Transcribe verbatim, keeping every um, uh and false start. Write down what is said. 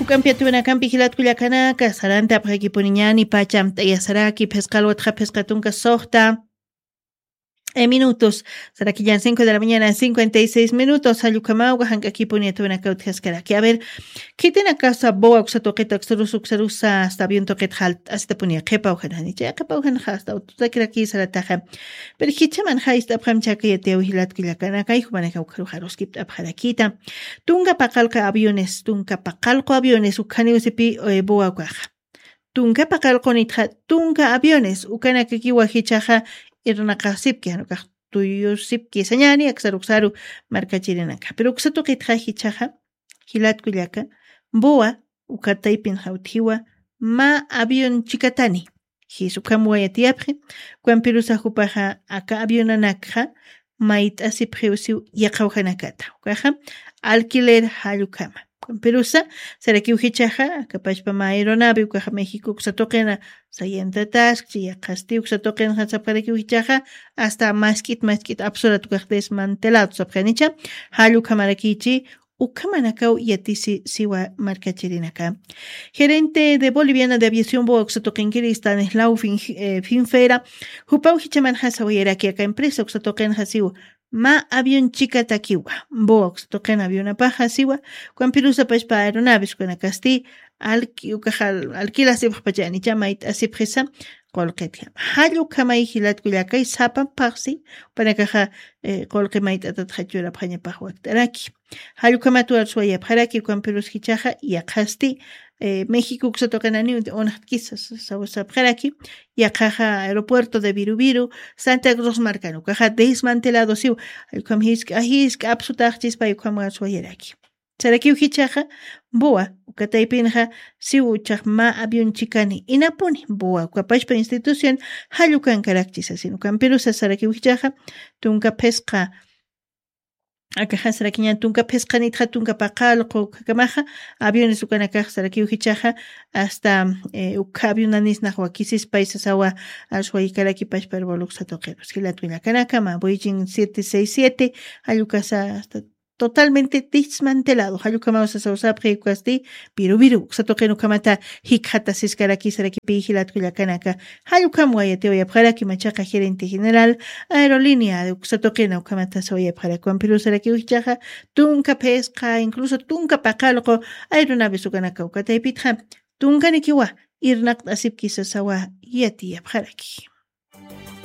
Kampiatuwinakampi jilatkullakanaka sarantapxakipuniñani pacham t'ayasaraki phisqalwatxa phisqa tunka soxta minutos. Sarakillan cinco de la mañana cincuenta y seis minutos jallukamawga jank'akipuni atuwinaka utjaskaraki a ver, khitinakasa bowa uksa tuqita uksarusa uksarusa asta avion tuqita jalt'asitapuniya qhipaw janjani chay qhipaw janxa asta ututakiraki sarataxa. Pero jichaman jayst'apxam chakayatiyaw jilatkullakanaka ayjumanaka ukharuxaruskipt'apxarakita. Tunka paqalqa aviones tunka paqalqu aviones ukhaniwsipi bowa ukaxa. Tunka paqalqunitxa tunka aviones ukanakakiwa jichaxa irnaqasipki janukax tuyusipki sañani aksaruksaru. Markachirinaka pero uksa tuqitxa jichaxa jilatkullaka bowa ukataypin jawtjiwa mä avion chikatani. Jis ukham wayatiyapxi ukampirusa jupaxa aka avionanakxa mayt'asipxiw siw yaqhawjanakata ukaxa alquiler jallukama. Ukampirusa sarakiw jichaxa aka pachpa mä aeronave ukaxa méxico uksa tuqina sayantataskchi yaqhasti uksa tuqinxa sapxarakiw jichaxa asta mask'it mask'it apsurat ukax desmantelado sapxanicha. Jallukhamarakichi ukhamanakaw yatisi siwa markachirinaka. Gerente de boliviana de aviación bowa uksa tuqinkiri stanislaw finfera jupaw jichamanxa sawayaraki aka empresa uksa tuqinxa siwa mä avion chikatakiwa bowa uksa tuqin avionapaxa siwa. Ukampirusa pachpa aeronaves ukanakasti alki ukaxa alquilasipxpachanicha mayt'asipxisa. Qulqitjama jallukhamay jilatkullakay sapapxsi upanakaxa qulqi mayt'atatxa churapxañapax wakt'araki. Jallukhamat warsuwayapxaraki ukampirus jichaxa yaqhasti méxico uksa tuqinaniw unxtkisa sawsapxaraki. Yaqhaxa aeropuerto de viruviru santa cruz markan ukaxa desmantelado siw. Jallukam jisk'a jisk'a apsutaxchispay ukham warsuwayaraki. Sarakiw jichaxa bowa ukataypinxa siw uchax mä avion chikani inapuni bowa ukapachpa institución jallukankarakchisa sinukampirusa sarakiw jichaxa tunka phisqa akaxasrakiñan tunka phisqanitxa tunka paqallqu ukhakamaxa aviones ukanakaxsrakiw jichaxa asta ukha avionanisnax wakisispaysa sawa. Aswaykaraki pachpa herboluksa tuqirus jilatkullakanakama boychin siete seis siete. Jallukasa asta totalmente desmantelado jallukamaw sasawsapxi ukasti piruviru uksa tuqin ukhamata jikxatasiskaraki sarakipi jilatkullakanaka. Jallukam wayatiwayapxaraki machaqa gerente general aerolínea de uksa tuqina ukhamata sawayapxaraki ukampirusarakiw jichaxa tunka phisqa incluso tunka paqalqu aeronaves ukanaka ukataypitxa tunkanikiwa irnaqt'asipkisa sawa. Yatiyapxaraki.